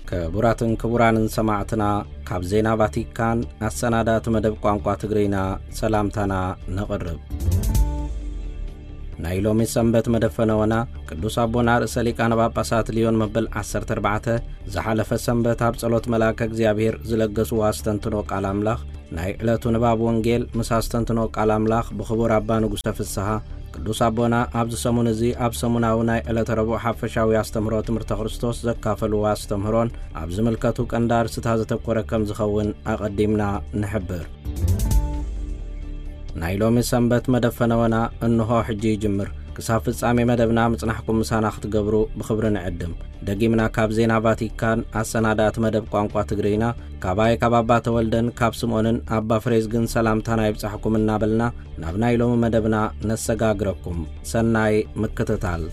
ክቡራትን ክቡራንን ሰማዕትና፣ ካብ ዜና ቫቲካን ኣሰናዳእቲ መደብ ቋንቋ ትግርኛ ሰላምታና ነቕርብ። ናይ ሎሚ ሰንበት መደብ ፈነወና ቅዱስ ኣቦና ርእሰ ሊቃነ ጳጳሳት ልዮን መበል ዓሰርተ ኣርባዕተ ዝሓለፈ ሰንበት ኣብ ጸሎት መልኣከ እግዚኣብሔር ዝለገስዎ ኣስተንትኖ ቃል ኣምላኽ፣ ናይ ዕለቱ ንባብ ወንጌል ምስ ኣስተንትኖ ቃል ኣምላኽ ብኽቡር ኣባ ንጉሰ ፍስሃ፣ ቅዱስ ኣቦና ኣብዚ ሰሙን እዚ ኣብ ሰሙናዊ ናይ ዕለተ ረቡዕ ሓፈሻዊ ኣስተምህሮ ትምህርተ ክርስቶስ ዘካፈልዎ ኣስተምህሮን ኣብ ዝምልከቱ ቀንዲ ኣርእስታት ዘተኮረ ከም ዝኸውን ኣቐዲምና ንሕብር። ናይ ሎሚ ሰንበት መደብ ፈነወና እንሆ ሕጂ ይጅምር። ክሳብ ፍጻሜ መደብና ምጽናሕኩም ምሳና ክትገብሩ ብኽብሪ ንዕድም። ደጊምና ካብ ዜና ቫቲካን ኣሰናዳእቲ መደብ ቋንቋ ትግርኛ፣ ካባይ ካብ ኣባ ተወልደን ካብ ስምኦንን ኣባ ፍሬዝግን ሰላምታና ይብጻሕኩም እናበልና፣ ናብ ናይ ሎሚ መደብና ነሰጋግረኩም። ሰናይ ምክትታል።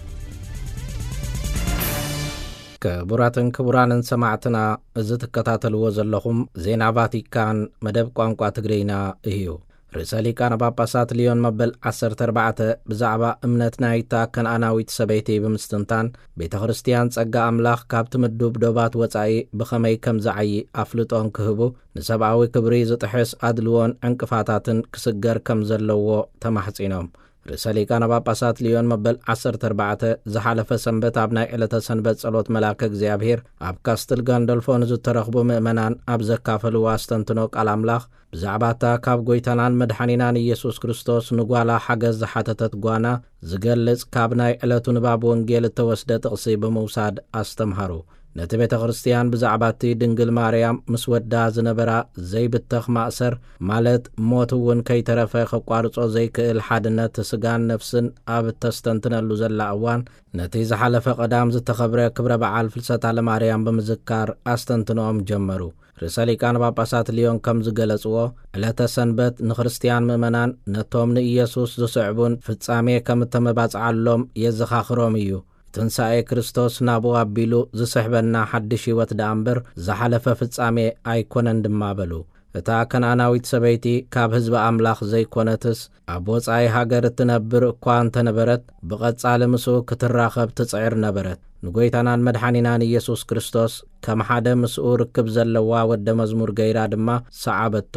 ክቡራትን ክቡራንን ሰማዕትና፣ እዚ ትከታተልዎ ዘለኹም ዜና ቫቲካን መደብ ቋንቋ ትግርኛ እዩ። ርእሰ ሊቃነ ጳጳሳት ልዮን መበል ዓሰርተ ኣርባዕተ ብዛዕባ እምነት ናይታ ከነኣናዊት ሰበይቲ ብምስትንታን፣ ቤተ ክርስቲያን ጸጋ ኣምላኽ ካብቲ ምዱብ ዶባት ወጻኢ ብኸመይ ከም ዝዓዪ ኣፍልጦ እንክህቡ፣ ንሰብኣዊ ክብሪ ዝጥሕስ ኣድልዎን ዕንቅፋታትን ክስገር ከም ዘለዎ ተማሕጺኖም። ርእሰ ሊቃነ ጳጳሳት ልዮን መበል ዓሰርተ ኣርባዕተ ዝሓለፈ ሰንበት ኣብ ናይ ዕለተ ሰንበት ጸሎት መልኣከ እግዚኣብሔር ኣብ ካስትል ጋንዶልፎ ንዝተረኽቡ ምእመናን ኣብ ዘካፈልዎ ኣስተንትኖ ቃል ኣምላኽ፣ ብዛዕባ እታ ካብ ጐይታናን መድሓኒናን ኢየሱስ ክርስቶስ ንጓላ ሓገዝ ዝሓተተት ጓና ዝገልጽ ካብ ናይ ዕለቱ ንባብ ወንጌል እተወስደ ጥቕሲ ብምውሳድ ኣስተምሃሩ። ነቲ ቤተ ክርስቲያን ብዛዕባ እቲ ድንግል ማርያም ምስ ወዳ ዝነበራ ዘይብተኽ ማእሰር፣ ማለት ሞት እውን ከይተረፈ ከቋርጾ ዘይክእል ሓድነት ስጋን ነፍስን ኣብ እተስተንትነሉ ዘላ እዋን፣ ነቲ ዝሓለፈ ቀዳም ዝተኸብረ ክብረ በዓል ፍልሰታ ለማርያም ብምዝካር ኣስተንትኖኦም ጀመሩ። ርእሰ ሊቃነ ጳጳሳት ልዮን ከም ዝገለጽዎ፣ ዕለተ ሰንበት ንክርስትያን ምእመናን ነቶም ንኢየሱስ ዝስዕቡን ፍጻሜ ከም እተመባጽዓሎም የዘኻኽሮም እዩ። ትንሳኤ ክርስቶስ ናብኡ ኣቢሉ ዝስሕበና ሓድሽ ህይወት ደኣ እምበር ዝሓለፈ ፍጻሜ ኣይኮነን ድማ በሉ። እታ ከነኣናዊት ሰበይቲ ካብ ህዝቢ ኣምላኽ ዘይኮነትስ፣ ኣብ ወጻኢ ሃገር እትነብር እኳ እንተነበረት፣ ብቐጻሊ ምስኡ ክትራኸብ ትጽዕር ነበረት። ንጐይታናን መድሓኒናን ኢየሱስ ክርስቶስ ከም ሓደ ምስኡ ርክብ ዘለዋ ወደ መዝሙር ገይራ ድማ ሰዓበቶ።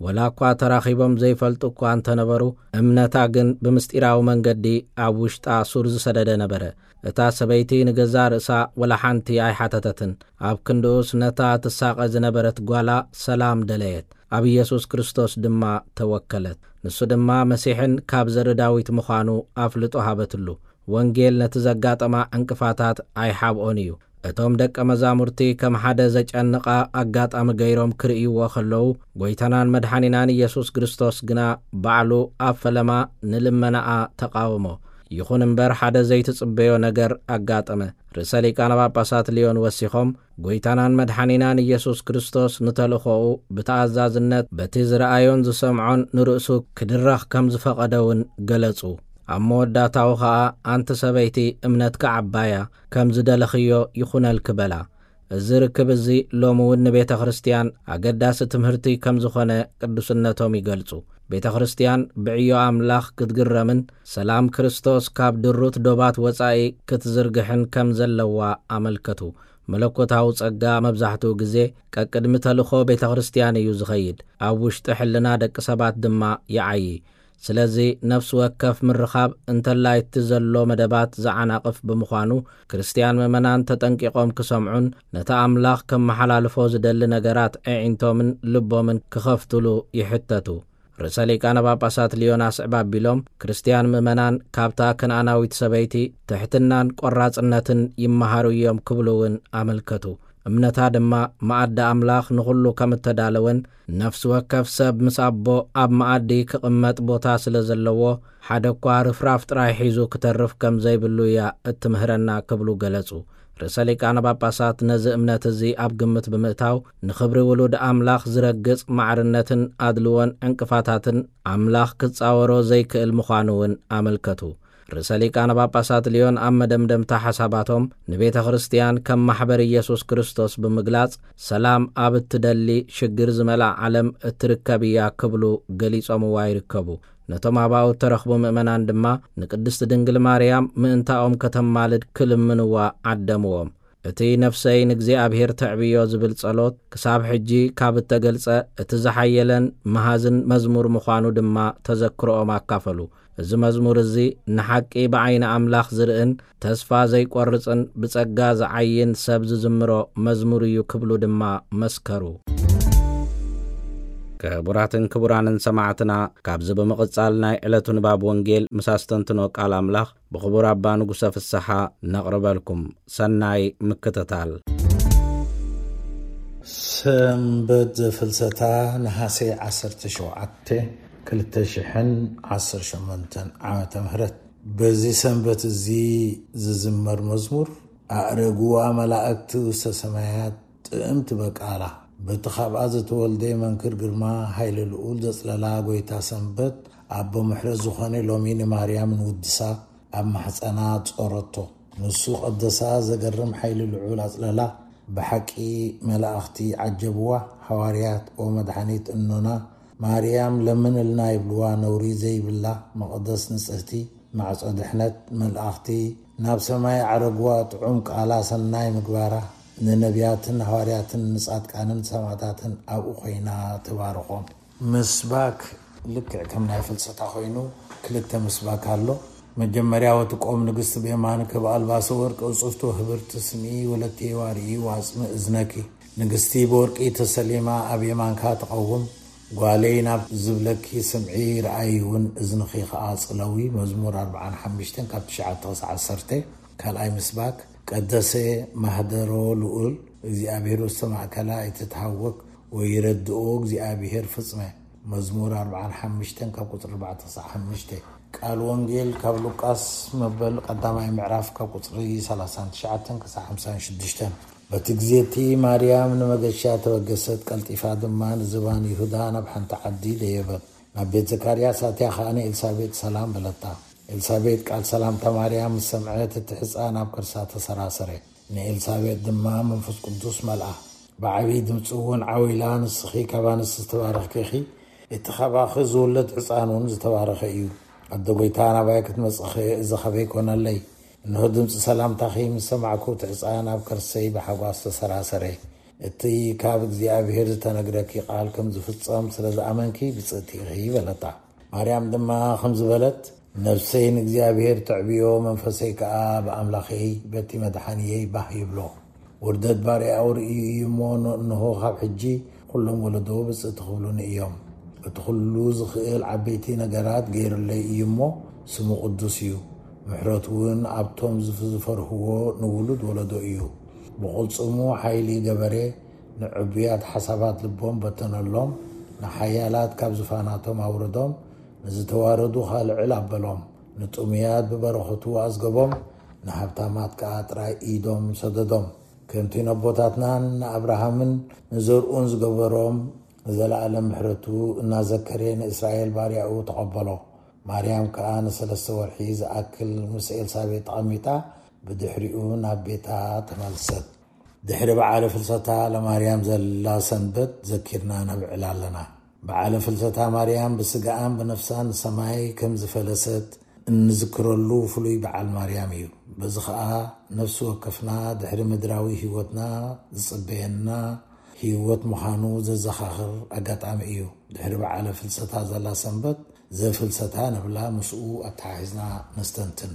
ወላ እኳ ተራኺቦም ዘይፈልጡ እኳ እንተነበሩ፣ እምነታ ግን ብምስጢራዊ መንገዲ ኣብ ውሽጣ ሱር ዝሰደደ ነበረ። እታ ሰበይቲ ንገዛእ ርእሳ ወላ ሓንቲ ኣይሓተተትን። ኣብ ክንድኡስ ነታ ትሳቐ ዝነበረት ጓላ ሰላም ደለየት። ኣብ ኢየሱስ ክርስቶስ ድማ ተወከለት። ንሱ ድማ መሲሕን ካብ ዘርኢ ዳዊት ምዃኑ ኣፍልጦ ሃበትሉ። ወንጌል ነቲ ዘጋጠማ ዕንቅፋታት ኣይሓብኦን እዩ። እቶም ደቀ መዛሙርቲ ከም ሓደ ዘጨንቓ ኣጋጣሚ ገይሮም ክርእይዎ ከለዉ፣ ጐይታናን መድሓኒናን ኢየሱስ ክርስቶስ ግና ባዕሉ ኣብ ፈለማ ንልመናኣ ተቓወሞ። ይኹን እምበር ሓደ ዘይትጽበዮ ነገር ኣጋጠመ። ርእሰ ሊቃነ ጳጳሳት ልዮን ወሲኾም፣ ጐይታናን መድሓኒናን ኢየሱስ ክርስቶስ ንተልእኾኡ ብተኣዛዝነት በቲ ዝረኣዮን ዝሰምዖን ንርእሱ ክድረኽ ከም ዝፈቐደ እውን ገለጹ። ኣብ መወዳእታኡ ኸኣ፣ ኣንቲ ሰበይቲ፣ እምነትኪ ዓባያ፣ ከም ዝደለኽዮ ይኹነልኪ በላ። እዚ ርክብ እዚ ሎሚ እውን ንቤተ ክርስቲያን ኣገዳሲ ትምህርቲ ከም ዝኾነ ቅዱስነቶም ይገልጹ። ቤተ ክርስቲያን ብዕዮ ኣምላኽ ክትግረምን ሰላም ክርስቶስ ካብ ድሩት ዶባት ወጻኢ ክትዝርግሕን ከም ዘለዋ ኣመልከቱ። መለኮታዊ ጸጋ መብዛሕትኡ ግዜ ቀቅድሚ ተልእኾ ቤተ ክርስቲያን እዩ ዝኸይድ፣ ኣብ ውሽጢ ሕልና ደቂ ሰባት ድማ ይዓዪ። ስለዚ ነፍሲ ወከፍ ምርኻብ እንተላይ እቲ ዘሎ መደባት ዝዓናቕፍ ብምዃኑ፣ ክርስቲያን ምእመናን ተጠንቂቖም ክሰምዑን ነቲ ኣምላኽ ከመሓላልፎ ዝደሊ ነገራት ኣዒንቶምን ልቦምን ክኸፍቱሉ ይሕተቱ። ርእሰ ሊቃነ ጳጳሳት ልዮን ኣስዕብ ኣቢሎም፣ ክርስቲያን ምእመናን ካብታ ከነኣናዊት ሰበይቲ ትሕትናን ቆራጽነትን ይመሃሩ እዮም ክብሉ እውን ኣመልከቱ። እምነታ ድማ መኣዲ ኣምላኽ ንኹሉ ከም እተዳለወን፣ ነፍሲ ወከፍ ሰብ ምስ ኣቦ ኣብ መኣዲ ክቕመጥ ቦታ ስለ ዘለዎ፣ ሓደ እኳ ርፍራፍ ጥራይ ሒዙ ክተርፍ ከም ዘይብሉ እያ እትምህረና ክብሉ ገለጹ። ርእሰ ሊቃነ ጳጳሳት ነዚ እምነት እዚ ኣብ ግምት ብምእታው፣ ንኽብሪ ውሉድ ኣምላኽ ዝረግጽ ማዕርነትን ኣድልዎን ዕንቅፋታትን ኣምላኽ ክጻወሮ ዘይክእል ምዃኑ እውን ኣመልከቱ። ርእሰ ሊቃነ ጳጳሳት ልዮን ኣብ መደምደምታ ሓሳባቶም፣ ንቤተ ክርስቲያን ከም ማሕበር ኢየሱስ ክርስቶስ ብምግላጽ፣ ሰላም ኣብ እትደሊ ሽግር ዝመልኣ ዓለም እትርከብ እያ ክብሉ ገሊጾምዋ ይርከቡ። ነቶም ኣባኡ እተረኽቡ ምእመናን ድማ ንቅድስቲ ድንግል ማርያም ምእንታኦም ከተማልድ ክልምንዋ ዓደምዎም። እቲ ነፍሰይ ንእግዚኣብሔር ተዕብዮ ዝብል ጸሎት ክሳብ ሕጂ ካብ እተገልጸ እቲ ዝሓየለን መሃዝን መዝሙር ምዃኑ ድማ ተዘክሮኦም ኣካፈሉ። እዚ መዝሙር እዚ ንሓቂ ብዓይኒ ኣምላኽ ዝርእን ተስፋ ዘይቆርጽን ብጸጋ ዝዓይን ሰብ ዝዝምሮ መዝሙር እዩ ክብሉ ድማ መስከሩ። ክቡራትን ክቡራንን ሰማዕትና፣ ካብዚ ብምቕጻል ናይ ዕለቱ ንባብ ወንጌል ምስ ኣስተንትኖ ቃል ኣምላኽ ብኽቡር ኣባ ንጉሰ ፍስሓ ነቕርበልኩም። ሰናይ ምክትታል። ሰንበት ዘፍልሰታ ነሓሰ ዓሰርተ ሸውዓተ ክልተ ሽሕን ዓሰርተ ሸሞንተን ዓመተ ምህረት። በዚ ሰንበት እዚ ዝዝመር መዝሙር፣ ኣእረግዋ መላእክቲ ውስተ ሰማያት፣ ጥእምቲ በቃላ፣ በቲ ካብኣ ዝተወልደ መንክር ግርማ፣ ሃይለ ልኡል ዘጽለላ ጎይታ ሰንበት፣ ኣቦ ምሕረት ዝኾነ ሎሚ ንማርያም ንውድሳ፣ ኣብ ማሕጸና ጾረቶ። ንሱ ቀደሳ፣ ዘገርም ሓይሊ ልዑል ኣጽለላ። ብሓቂ መላእኽቲ ዓጀብዋ። ሃዋርያት፣ "ኦ መድሓኒት እኖና ማርያም ለምንልና" ይብልዋ። ነውሪ ዘይብላ መቕደስ ንጽህቲ ማዕጾ ድሕነት። መላእኽቲ ናብ ሰማይ ዓረግዋ። ጥዑም ቃላ ሰናይ ምግባራ ንነቢያትን ሃዋርያትን ንጻድቃንን ሰማዕታትን ኣብኡ ኮይና ትባርኾም። ምስባክ ልክዕ ከም ናይ ፍልሰታ ኮይኑ ክልተ ምስባክ ኣሎ። መጀመርያ፣ "ወትቆም ንግስቲ ብየማንከ በኣልባሰ ወርቅ እጽፍቶ ህብርቲ ስምዒ ወለቴ ዋርኢ ዋጽሚ እዝነኪ።" ንግስቲ ብወርቂ ተሰሊማ ኣብ የማንካ ትቐውም። "ጓለይ ናብ ዝብለኪ ስምዒ፣ ረኣይ እውን እዝንኺ ከኣ ጽለዊ።" መዝሙር ኣርብዓን ሓሙሽተን ካብ ትሽዓተ ክሳዕ ዓሰርተ። ካልኣይ ምስባክ፣ "ቀደሰ ማህደሮ ልኡል እግዚኣብሔር ውስተ ማእከላ ኣይትትሃወክ ወይረድኦ እግዚኣብሔር ፍጽመ።" መዝሙር ኣርብዓን ሓሙሽተን ካብ ቁጽሪ ኣርባዕተ ክሳዕ ሓሙሽተ። ቃል ወንጌል ካብ ሉቃስ መበል ቀዳማይ ምዕራፍ ካብ ቁጽሪ ሰላሳን ትሽዓተን ክሳዕ ሓምሳን ሽዱሽተን። በቲ ግዜ እቲ ማርያም ንመገሻ ተበገሰት፣ ቀልጢፋ ድማ ንዝባን ይሁዳ ናብ ሓንቲ ዓዲ ደየበት። ናብ ቤት ዘካርያስ ኣትያ ኸኣ ንኤልሳቤጥ ሰላም በለታ። ኤልሳቤጥ ቃል ሰላምታ ማርያም ምስ ሰምዐት፣ እቲ ሕፃን ኣብ ከርሳ ተሰራሰረ። ንኤልሳቤጥ ድማ መንፈስ ቅዱስ መልኣ። ብዓብዪ ድምፂ እውን ዓው ኢላ፣ "ንስኺ ካብ ኣንስቲ ዝተባረኽኪ ኢኺ፣ እቲ ካባኺ ዝውለድ ሕፃን እውን ዝተባረኸ እዩ። ኣደ ጐይታ፣ ናባይ ክትመፅእኺ እዚ ኸበይ ኮነለይ? እንሆ ድምፂ ሰላምታኺ ምስ ሰማዕኩ፣ እቲ ሕፃን ኣብ ከርሰይ ብሓጓስ ተሰራሰረ። እቲ ካብ እግዚኣብሔር ዝተነግረኪ ቃል ከም ዝፍጸም ስለ ዝኣመንኪ ብፅእቲ ኢኺ" በለታ። ማርያም ድማ ከምዚ በለት፣ "ነፍሰይ ንእግዚኣብሔር ተዕብዮ፣ መንፈሰይ ከኣ ብኣምላኸይ በቲ መድሓንየይ ባህ ይብሎ። ውርደት ባርያኡ ርእዩ እዩ እሞ፣ እንሆ ካብ ሕጂ ኩሎም ወለዶ ብፅእቲ ክብሉኒ እዮም። እቲ ኩሉ ዝኽእል ዓበይቲ ነገራት ገይሩለይ እዩ እሞ፣ ስሙ ቅዱስ እዩ። ምሕረቱ እውን ኣብቶም ዝፍ-፣ ዝፈርህዎ ንውሉድ ወለዶ እዩ። ብቕልጽሙ ሓይሊ ገበረ፣ ንዕቡያት ሓሳባት ልቦም በተነሎም፣ ንሓያላት ካብ ዙፋናቶም ኣውረዶም፣ ንዝተዋረዱ ኸኣ ልዕል ኣበሎም። ንጥሙያት ብበረኸቱ ኣዝገቦም፣ ንሃብታማት ከኣ ጥራይ ኢዶም ሰደዶም። ከምቲ ነቦታትናን ንኣብርሃምን ንዘርኡን ዝገበሮም፣ ንዘለኣለም ምሕረቱ እናዘከረ ንእስራኤል ባርያኡ ተቐበሎ። ማርያም ከኣ ንሰለስተ ወርሒ ዝኣክል ምስ ኤልሳቤጥ ተቐሚጣ፣ ብድሕሪኡ ናብ ቤታ ተመልሰት። ድሕሪ በዓለ ፍልሰታ ለማርያም ዘላ ሰንበት ዘኪርና ነብዕላ ኣለና። በዓለ ፍልሰታ ማርያም ብስጋኣን ብነፍሳን ንሰማይ ከም ዝፈለሰት እንዝክረሉ ፍሉይ በዓል ማርያም እዩ። በዚ ኸኣ ነፍሲ ወከፍና ድሕሪ ምድራዊ ህይወትና ዝጽበየና ህይወት ምዃኑ ዘዘኻኽር ኣጋጣሚ እዩ። ድሕሪ በዓለ ፍልሰታ ዘላ ሰንበት ዘፍልሰታ ንብላ፣ ምስኡ ኣተሓሒዝና ነስተንትን።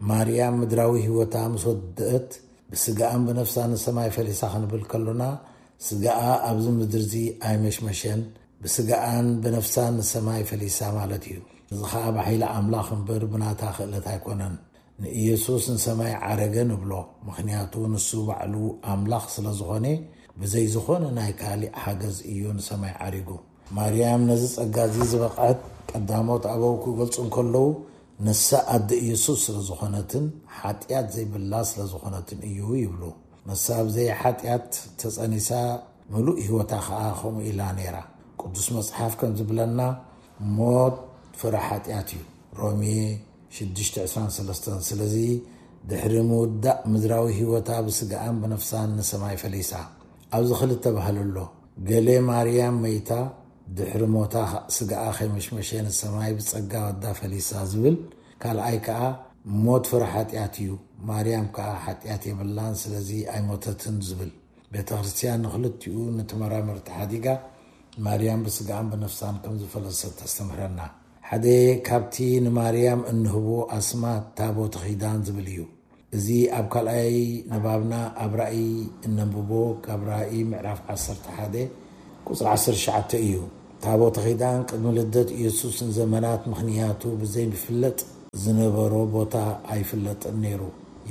ማርያም ምድራዊ ህይወታ ምስ ወደአት፣ ብስጋኣን ብነፍሳን ንሰማይ ፈሊሳ ክንብል ከሎና፣ ስጋኣ ኣብዚ ምድሪ እዚ ኣይመሽመሸን፣ ብስጋኣን ብነፍሳን ንሰማይ ፈሊሳ ማለት እዩ። እዚ ኸኣ ብሓይሊ ኣምላኽ እምበር ብናታ ክእለት ኣይኮነን። ንኢየሱስ ንሰማይ ዓረገ ንብሎ፣ ምኽንያቱ ንሱ ባዕሉ ኣምላኽ ስለ ዝኾነ፣ ብዘይ ዝኾነ ናይ ካሊእ ሓገዝ እዩ ንሰማይ ዓሪጉ። ማርያም ነዚ ጸጋ እዚ ዝበቕዐት፣ ቀዳሞት ኣበው ክገልጹ እንከለዉ፣ ንሳ ኣደ ኢየሱስ ስለ ዝኾነትን ሓጢኣት ዘይብላ ስለ ዝኾነትን እዩ ይብሉ። ንሳ ብዘይ ሓጢኣት ተጸኒሳ፣ ምሉእ ህይወታ ኸኣ ከምኡ ኢላ ነይራ። ቅዱስ መጽሓፍ ከም ዝብለና፣ "ሞት ፍረ ሓጢኣት እዩ።" ሮሜ ሽዱሽተ ዕስራን ሰለስተን። ስለዚ ድሕሪ ምውዳእ ምድራዊ ህይወታ ብስጋኣን ብነፍሳን ንሰማይ ፈሊሳ። ኣብዚ ክልተ ባህሊ ኣሎ። ገለ ማርያም መይታ ድሕሪ ሞታ ስጋኣ ከይመሽመሸ ንሰማይ ብጸጋ ወዳ ፈሊሳ ዝብል፣ ካልኣይ ከኣ ሞት ፍረ ሓጢኣት እዩ፣ ማርያም ከዓ ሓጢኣት የብላን፣ ስለዚ ኣይሞተትን ዝብል። ቤተ ክርስቲያን ንክልቲኡ ንተመራመርቲ ሓዲጋ ማርያም ብስጋኣን ብነፍሳን ከም ዝፈለሰት ተስተምህረና። ሓደ ካብቲ ንማርያም እንህቦ ኣስማት ታቦተ ኪዳን ዝብል እዩ። እዚ ኣብ ካልኣይ ንባብና ኣብ ራእይ እነንብቦ ካብ ራእይ ምዕራፍ ዓሰርተ ሓደ ቁፅሪ ዓሰርተ ትሽዓተ እዩ። ታቦተ ኪዳን ቅድሚ ልደት ኢየሱስ ንዘመናት ምኽንያቱ ብዘይፍለጥ ዝነበሮ ቦታ ኣይፍለጥን ነይሩ።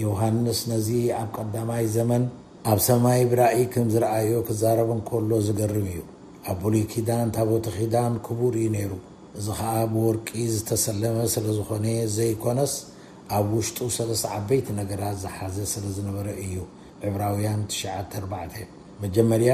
ዮሃንስ ነዚ ኣብ ቀዳማይ ዘመን ኣብ ሰማይ ብራእይ ከም ዝረኣዮ ክዛረብ እንከሎ ዝገርም እዩ። ኣብ ብሉይ ኪዳን ታቦተ ኪዳን ክቡር እዩ ነይሩ። እዚ ኸኣ ብወርቂ ዝተሰለመ ስለ ዝኾነ ዘይኮነስ ኣብ ውሽጡ ሰለስተ ዓበይቲ ነገራት ዝሓዘ ስለ ዝነበረ እዩ። ዕብራውያን ትሽዓተ ኣርባዕተ። መጀመርያ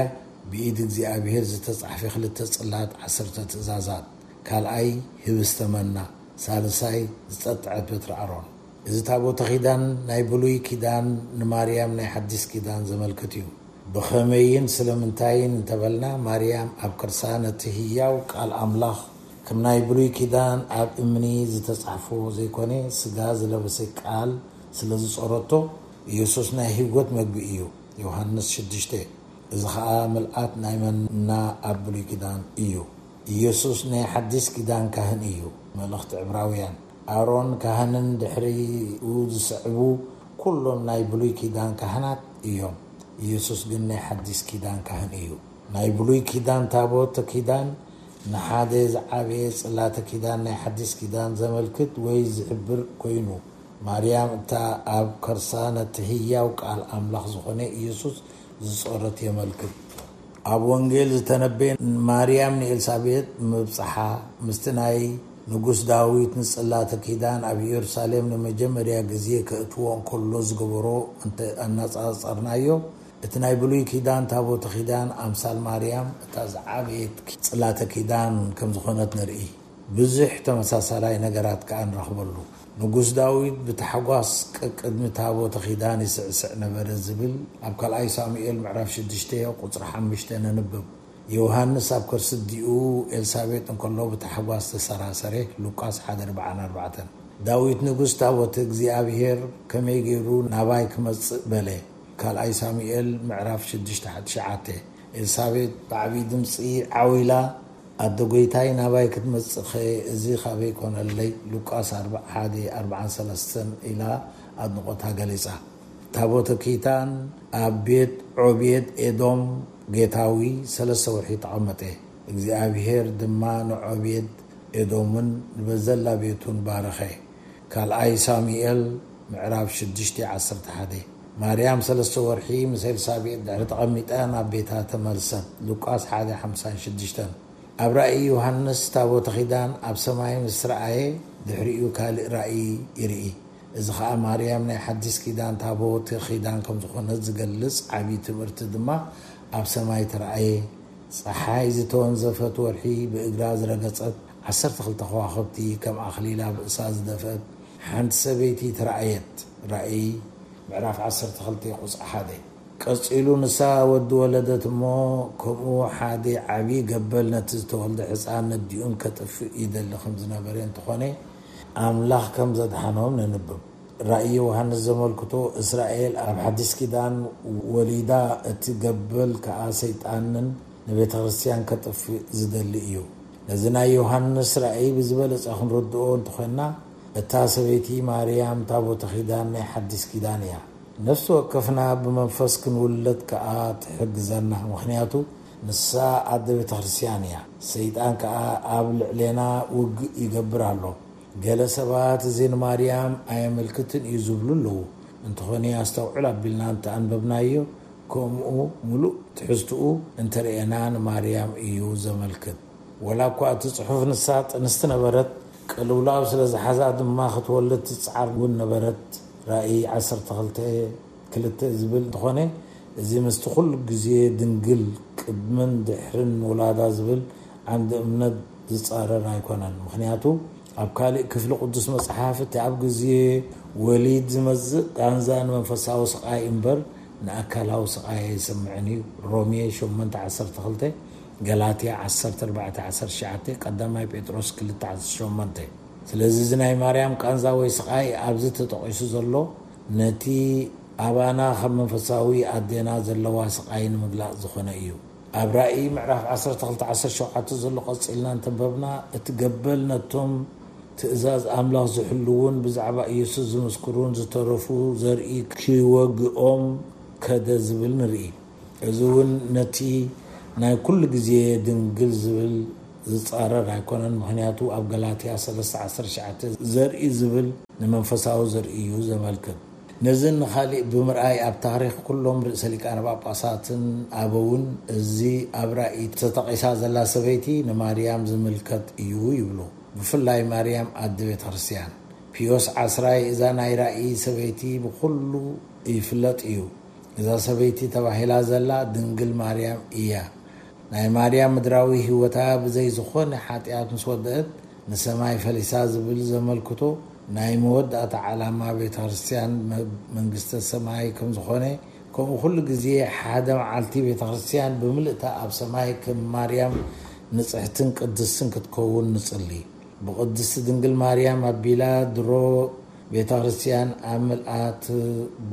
ብኢድ እግዚኣብሔር ዝተጻሕፈ ክልተ ጽላት ዓሰርተ ትእዛዛት፣ ካልኣይ ህብስተ መና፣ ሳልሳይ ዝጸጥዐት በትሪ ኣሮን። እዚ ታቦተ ኪዳን ናይ ብሉይ ኪዳን ንማርያም ናይ ሓዲስ ኪዳን ዘመልክት እዩ። ብኸመይን ስለምንታይን እንተበልና፣ ማርያም ኣብ ከርሳ ነቲ ህያው ቃል ኣምላኽ ከም ናይ ብሉይ ኪዳን ኣብ እምኒ ዝተጻሕፎ ዘይኮነ፣ ስጋ ዝለበሰ ቃል ስለ ዝጾረቶ፣ ኢየሱስ ናይ ህይወት መግቢ እዩ። ዮሃንስ ሽዱሽተ። እዚ ኸኣ ምልኣት ናይ መና ኣብ ብሉይ ኪዳን እዩ። ኢየሱስ ናይ ሓዲስ ኪዳን ካህን እዩ። መልእኽቲ ዕብራውያን። ኣሮን ካህንን ድሕሪኡ ዝስዕቡ ኩሎም ናይ ብሉይ ኪዳን ካህናት እዮም። ኢየሱስ ግን ናይ ሓዲስ ኪዳን ካህን እዩ። ናይ ብሉይ ኪዳን ታቦተ ኪዳን ንሓደ ዝዓበየ ጽላተ ኪዳን ናይ ሓዲስ ኪዳን ዘመልክት ወይ ዝሕብር ኮይኑ፣ ማርያም እታ ኣብ ከርሳ ነቲ ህያው ቃል ኣምላኽ ዝኾነ ኢየሱስ ዝጾረት የመልክት። ኣብ ወንጌል ዝተነበየ ማርያም ንኤልሳቤጥ ምብጽሓ፣ ምስቲ ናይ ንጉስ ዳዊት ንጽላተ ኪዳን ኣብ ኢየሩሳሌም ንመጀመርያ ግዜ ከእትዎ እንከሎ ዝገበሮ እንተ ኣነጻጸርናዮ፣ እቲ ናይ ብሉይ ኪዳን ታቦተ ኪዳን ኣምሳል ማርያም እታ ዝዓበየት ጽላተ ኪዳን ከም ዝኾነት ንርኢ። ብዙሕ ተመሳሳላይ ነገራት ከኣ ንረኽበሉ። ንጉስ ዳዊት ብታሕጓስ ቀቅድሚ ታቦተ ኪዳን ይስዕስዕ ነበረ ዝብል ኣብ ካልኣይ ሳሙኤል ምዕራፍ ሽዱሽተ ቁጽሪ ሓሙሽተ ነንብብ። ዮሃንስ ኣብ ከርሲ ኣዲኡ ኤልሳቤጥ እንከሎ ብታሕጓስ ተሰራሰረ፣ ሉቃስ ሓደ ኣርባዓን ኣርባዕተን። ዳዊት ንጉስ ታቦተ እግዚኣብሔር ከመይ ገይሩ ናባይ ክመጽእ በለ፣ ካልኣይ ሳሙኤል ምዕራፍ ሽዱሽተ ትሽዓተ። ኤልሳቤጥ ብዓብዪ ድምፂ ዓው ኢላ፣ ኣደ ጐይታይ ናባይ ክትመጽእኸ እዚ ካበይ ኮነለይ? ሉቃስ ኣርባዓ ሓደ ኣርባዓን ሰለስተን ኢላ ኣድንቖታ ገሊጻ። ታቦተ ኪዳን ኣብ ቤት ዖቤድ ኤዶም ጌታዊ ሰለስተ ወርሒ ተቐመጠ። እግዚኣብሔር ድማ ንዖቤድ ኤዶምን ንበዘላ ቤቱን ባረኸ። ካልኣይ ሳሙኤል ምዕራፍ ሽዱሽተ ዓሰርተ ሓደ። ማርያም ሰለስተ ወርሒ ምስ ኤልሳቤጥ ድሕሪ ተቐሚጠ ናብ ቤታ ተመልሰት። ሉቃስ ሓደ ሓምሳን ሽዱሽተን። ኣብ ራእይ ዮሃንስ ታቦተ ኪዳን ኣብ ሰማይ ምስ ረኣየ ድሕሪኡ ካልእ ራእይ ይርኢ። እዚ ኸኣ ማርያም ናይ ሓዲስ ኪዳን ታቦተ ኪዳን ከም ዝኾነት ዝገልጽ ዓብዪ ትምህርቲ ድማ ኣብ ሰማይ ተራእየ። ጸሓይ ዝተወንዘፈት፣ ወርሒ ብእግራ ዝረገጸት፣ ዓሰርተ ክልተ ከዋኽብቲ ከም ኣኽሊል ኣብ ርእሳ ዝደፍአት ሓንቲ ሰበይቲ ተራእየት። ራእይ ምዕራፍ ዓሰርተ ክልተ ቁጽሪ ሓደ። ቀጺሉ ንሳ ወዲ ወለደት እሞ፣ ከምኡ ሓደ ዓቢ ገበል ነቲ ዝተወልደ ሕጻን ነዲኡን ከጥፍእ ይደሊ ከም ዝነበረ እንተኾነ፣ ኣምላኽ ከም ዘድሓኖም ነንብብ። ራእይ ዮሃንስ ዘመልክቶ፣ እስራኤል ኣብ ሓዲስ ኪዳን ወሊዳ፣ እቲ ገበል ከኣ ሰይጣንን ንቤተ ክርስቲያን ከጥፍእ ዝደሊ እዩ። ነዚ ናይ ዮሃንስ ራእይ ብዝበለጸ ክንርድኦ እንተኾንና፣ እታ ሰበይቲ ማርያም ታቦተ ኪዳን ናይ ሓዲስ ኪዳን እያ። ነፍሲ ወከፍና ብመንፈስ ክንውለድ ከኣ ትሕግዘና፣ ምኽንያቱ ንሳ ኣደ ቤተ ክርስቲያን እያ። ሰይጣን ከኣ ኣብ ልዕሌና ውግእ ይገብር ኣሎ። ገለ ሰባት እዚ ንማርያም ኣየመልክትን እዩ ዝብሉ ኣለዉ። እንተኾነ ኣስተውዕል ኣቢልና እንተኣንበብናዮ፣ ከምኡ ምሉእ ትሕዝትኡ እንተርእየና ንማርያም እዩ ዘመልክት። ወላ እኳ እቲ ጽሑፍ ንሳ ጥንስቲ ነበረት፣ ቅልውላው ስለ ዝሓዛ ድማ ክትወልድ ትጽዓር እውን ነበረት። ራእይ ዓሰርተ ክልተ ክልተ ዝብል እንተኾነ፣ እዚ ምስቲ ኩሉ ግዜ ድንግል ቅድምን ድሕርን ምውላዳ ዝብል ዓንዲ እምነት ዝጻረር ኣይኮነን። ምኽንያቱ ኣብ ካልእ ክፍሊ ቅዱስ መጽሓፍ፣ እቲ ኣብ ግዜ ወሊድ ዝመጽእ ቃንዛ ንመንፈሳዊ ስቓይ እምበር ንኣካላዊ ስቓይ ኣይስምዕን እዩ። ሮሜ ሸሞንተ ዓሰርተ ክልተ፣ ገላትያ ዓሰርተ ኣርባዕተ ዓሰርተ ትሽዓተ፣ ቀዳማይ ጴጥሮስ ክልተ ዓሰርተ ሸሞንተ። ስለዚ እዚ ናይ ማርያም ቃንዛ ወይ ስቓይ ኣብዚ ተጠቒሱ ዘሎ ነቲ ኣባና ከም መንፈሳዊ ኣዴና ዘለዋ ስቓይ ንምግላጽ ዝኾነ እዩ። ኣብ ራእይ ምዕራፍ ዓሰርተ ክልተ ዓሰርተ ሸውዓተ ዘሎ ቀጺልና እንተንበብና፣ እቲ ገበል ነቶም ትእዛዝ ኣምላኽ ዝሕልዉን ብዛዕባ ኢየሱስ ዝምስክሩን ዝተረፉ ዘርኢ ክወግኦም ከደ ዝብል ንርኢ። እዚ እውን ነቲ ናይ ኩሉ ግዜ ድንግል ዝብል ዝጻረር ኣይኮነን፣ ምኽንያቱ ኣብ ገላትያ ሰለስተ ዓሰርተ ትሽዓተ ዘርኢ ዝብል ንመንፈሳዊ ዘርኢ እዩ ዘመልክት። ነዝን ንኻሊእ ብምርኣይ፣ ኣብ ታሪኽ ኩሎም ርእሰ ሊቃነ ጳጳሳትን ኣበውን፣ እዚ ኣብ ራእይ ተጠቒሳ ዘላ ሰበይቲ ንማርያም ዝምልከት እዩ ይብሉ። ብፍላይ ማርያም ኣደ ቤተ ክርስቲያን። ፒዮስ ዓስራይ እዛ ናይ ራእይ ሰበይቲ ብኹሉ ይፍለጥ እዩ። እዛ ሰበይቲ ተባሂላ ዘላ ድንግል ማርያም እያ። ናይ ማርያም ምድራዊ ህይወታ ብዘይ ዝኾነ ሓጢኣት ምስ ወደአት፣ ንሰማይ ፈሊሳ ዝብል ዘመልክቶ ናይ መወዳእታ ዓላማ ቤተ ክርስቲያን መ-፣ መንግስተ ሰማይ ከም ዝኾነ፣ ከምኡ ኩሉ ግዜ ሓደ መዓልቲ ቤተ ክርስቲያን ብምልእታ ኣብ ሰማይ ከም ማርያም ንጽሕትን ቅድስትን ክትከውን ንጽሊ። ብቅድስቲ ድንግል ማርያም ኣቢላ ድሮ ቤተ ክርስቲያን ኣብ ምልኣት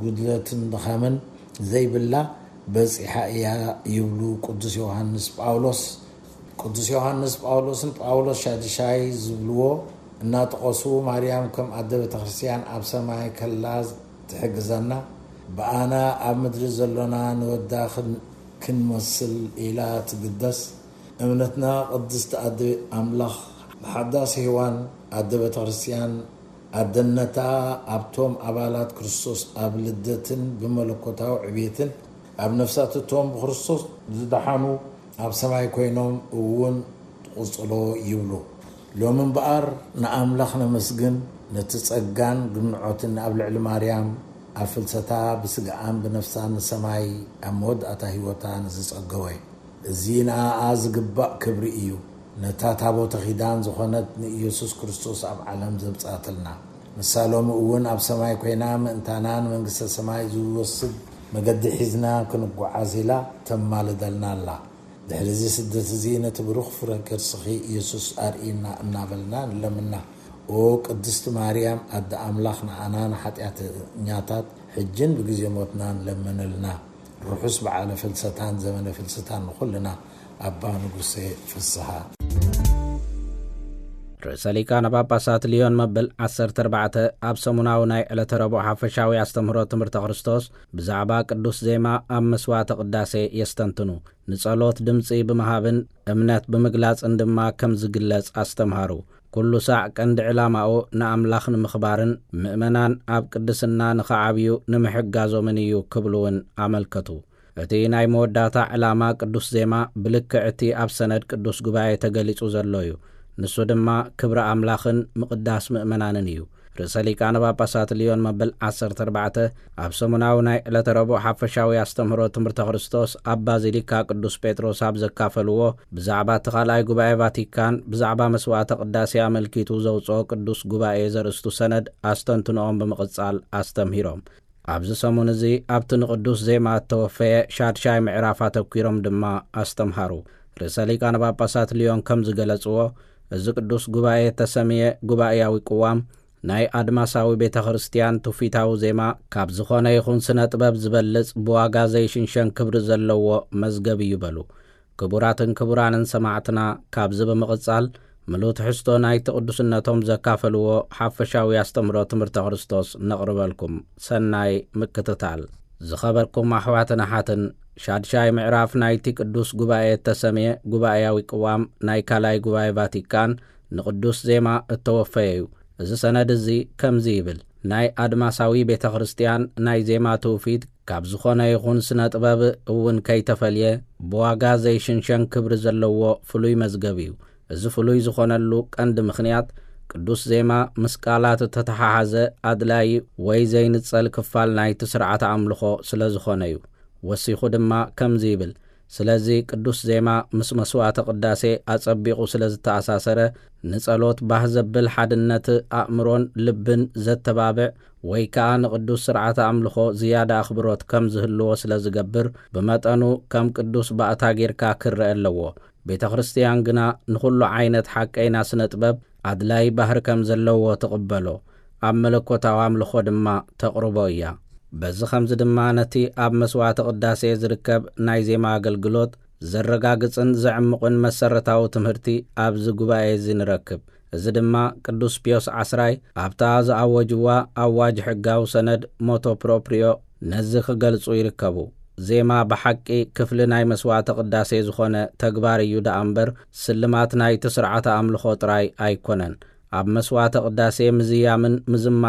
ጉድለትን ድኻምን ዘይብላ በጺሓ እያ ይብሉ ቅዱስ ዮሃንስ ጳውሎስ። ቅዱስ ዮሃንስ ጳውሎስን ጳውሎስ ሻድሻይ ዝብልዎ እናጠቐሱ፣ ማርያም ከም ኣደ ቤተ ክርስቲያን ኣብ ሰማይ ከላ ትሕግዘና፣ ብኣና ኣብ ምድሪ ዘሎና ንወዳ ክን-፣ ክንመስል ኢላ ትግደስ። እምነትና ቅድስቲ ኣደ ኣምላኽ፣ ሓዳስ ሔዋን ኣደ ቤተ ክርስቲያን፣ ኣደነታ ኣብቶም ኣባላት ክርስቶስ ኣብ ልደትን ብመለኮታዊ ዕቤትን ኣብ ነፍሳት እቶም ብክርስቶስ ዝደሓኑ ኣብ ሰማይ ኮይኖም እውን ትቕጽሎ ይብሉ። ሎሚ እምበኣር ንኣምላኽ ነመስግን፣ ነቲ ጸጋን ግምዖትን ኣብ ልዕሊ ማርያም ኣብ ፍልሰታ ብስጋኣን ብነፍሳን ንሰማይ ኣብ መወዳእታ ህይወታ ንዝጸገወ። እዚ ንኣኣ ዝግባእ ክብሪ እዩ። ነታ ታቦተ ኪዳን ዝኾነት ንኢየሱስ ክርስቶስ ኣብ ዓለም ዘምጽኣትልና። ንሳ ሎሚ እውን ኣብ ሰማይ ኮይና ምእንታና ንመንግስተ ሰማይ ዝወስድ መገዲ ሒዝና ክንጓዓዝ ኢላ ተማልደልና ኣላ። ድሕሪ እዚ ስደት እዚ ነቲ ብሩኽ ፍረ ከርስኺ ኢየሱስ ኣርእይና እናበልና ንለምና። ኦ ቅድስቲ ማርያም ኣደ ኣምላኽ፣ ንዓና ንሓጢኣተኛታት ሕጅን ብግዜ ሞትና ንለምንልና። ርሑስ በዓለ ፍልሰታን ዘመነ ፍልሰታን ንኹልና። ኣባ ንጉሴ ፍስሃ። ርእሰ ሊቃነ ጳጳሳት ሊዮን መበል ዓሰርተ ኣርባዕተ ኣብ ሰሙናዊ ናይ ዕለተ ረቡዕ ሓፈሻዊ ኣስተምህሮ ትምህርተ ክርስቶስ ብዛዕባ ቅዱስ ዜማ ኣብ መስዋዕተ ቅዳሴ የስተንትኑ። ንጸሎት ድምጺ ብምሃብን እምነት ብምግላጽን ድማ ከም ዝግለጽ ኣስተምሃሩ። ኩሉ ሳዕ ቀንዲ ዕላማኡ ንኣምላኽ ንምኽባርን ምእመናን ኣብ ቅድስና ንኽዓብዩ ንምሕጋዞምን እዩ ክብሉ እውን ኣመልከቱ። እቲ ናይ መወዳእታ ዕላማ ቅዱስ ዜማ ብልክዕ እቲ ኣብ ሰነድ ቅዱስ ጉባኤ ተገሊጹ ዘሎ እዩ። ንሱ ድማ ክብሪ ኣምላኽን ምቕዳስ ምእመናንን እዩ። ርእሰ ሊቃነ ጳጳሳት ሊዮን መበል ዓሰርተ ኣርባዕተ ኣብ ሰሙናዊ ናይ ዕለተ ረቡዕ ሓፈሻዊ ኣስተምህሮ ትምህርተ ክርስቶስ ኣብ ባዚሊካ ቅዱስ ጴጥሮስ ኣብ ዘካፈልዎ፣ ብዛዕባ እቲ ካልኣይ ጉባኤ ቫቲካን ብዛዕባ መስዋዕተ ቅዳሴ ኣመልኪቱ ዘውጽኦ ቅዱስ ጉባኤ ዘርእስቱ ሰነድ ኣስተንትኖኦም ብምቕጻል ኣስተምሂሮም። ኣብዚ ሰሙን እዚ ኣብቲ ንቅዱስ ዜማ እተወፈየ ሻድሻይ ምዕራፍ ኣተኲሮም ድማ ኣስተምሃሩ። ርእሰ ሊቃነ ጳጳሳት ሊዮን ከም ዝገለጽዎ፣ እዚ ቅዱስ ጉባኤ እተሰምየ ጉባኤያዊ ቅዋም ናይ ኣድማሳዊ ቤተ ክርስቲያን ትውፊታዊ ዜማ ካብ ዝኾነ ይኹን ስነ ጥበብ ዝበልጽ ብዋጋ ዘይሽንሸን ክብሪ ዘለዎ መዝገብ እዩ በሉ። ክቡራትን ክቡራንን ሰማዕትና፣ ካብዚ ብምቕጻል ምሉእ ትሕዝቶ ናይቲ ቅዱስነቶም ዘካፈልዎ ሓፈሻዊ ኣስተምህሮ ትምህርተ ክርስቶስ ነቕርበልኩም። ሰናይ ምክትታል። ዝኸበርኩም ኣሕዋትን ኣሓትን፣ ሻድሻይ ምዕራፍ ናይቲ ቅዱስ ጉባኤ እተሰምየ ጉባኤያዊ ቅዋም ናይ ካልኣይ ጉባኤ ቫቲካን ንቅዱስ ዜማ እተወፈየ እዩ። እዚ ሰነድ እዚ ከምዚ ይብል፣ ናይ ኣድማሳዊ ቤተ ክርስቲያን ናይ ዜማ ትውፊት ካብ ዝኾነ ይኹን ስነ ጥበብ እውን ከይተፈልየ ብዋጋ ዘይሽንሸን ክብሪ ዘለዎ ፍሉይ መዝገብ እዩ። እዚ ፍሉይ ዝኾነሉ ቀንዲ ምኽንያት ቅዱስ ዜማ ምስ ቃላት እተተሓሓዘ ኣድላዪ ወይ ዘይንጸል ክፋል ናይቲ ስርዓተ ኣምልኾ ስለ ዝኾነ እዩ። ወሲኹ ድማ ከምዚ ይብል፣ ስለዚ ቅዱስ ዜማ ምስ መስዋዕተ ቅዳሴ ኣጸቢቑ ስለ ዝተኣሳሰረ፣ ንጸሎት ባህ ዘብል ሓድነት ኣእምሮን ልብን ዘተባብዕ ወይ ከኣ ንቅዱስ ስርዓተ ኣምልኾ ዝያዳ ኣኽብሮት ከም ዝህልዎ ስለ ዝገብር፣ ብመጠኑ ከም ቅዱስ ባእታ ጌርካ ክረአ ኣለዎ። ቤተ ክርስቲያን ግና ንኹሉ ዓይነት ሓቀይና ስነ ጥበብ ኣድላይ ባህሪ ከም ዘለዎ ትቕበሎ፣ ኣብ መለኮታዊ ኣምልኾ ድማ ተቕርቦ እያ። በዚ ኸምዚ ድማ ነቲ ኣብ መስዋዕተ ቅዳሴ ዝርከብ ናይ ዜማ ኣገልግሎት ዘረጋግጽን ዘዕምቕን መሰረታዊ ትምህርቲ ኣብዚ ጉባኤ እዚ ንረክብ። እዚ ድማ ቅዱስ ፒዮስ ዓስራይ ኣብታ ዝኣወጅዋ ኣዋጅ ሕጋዊ ሰነድ ሞቶ ፕሮፕሪዮ ነዚ ክገልጹ ይርከቡ። ዜማ ብሓቂ ክፍሊ ናይ መስዋዕተ ቅዳሴ ዝኾነ ተግባር እዩ ደኣ እምበር፣ ስልማት ናይቲ ስርዓተ ኣምልኾ ጥራይ ኣይኮነን። ኣብ መስዋዕተ ቅዳሴ ምዝያምን ምዝማር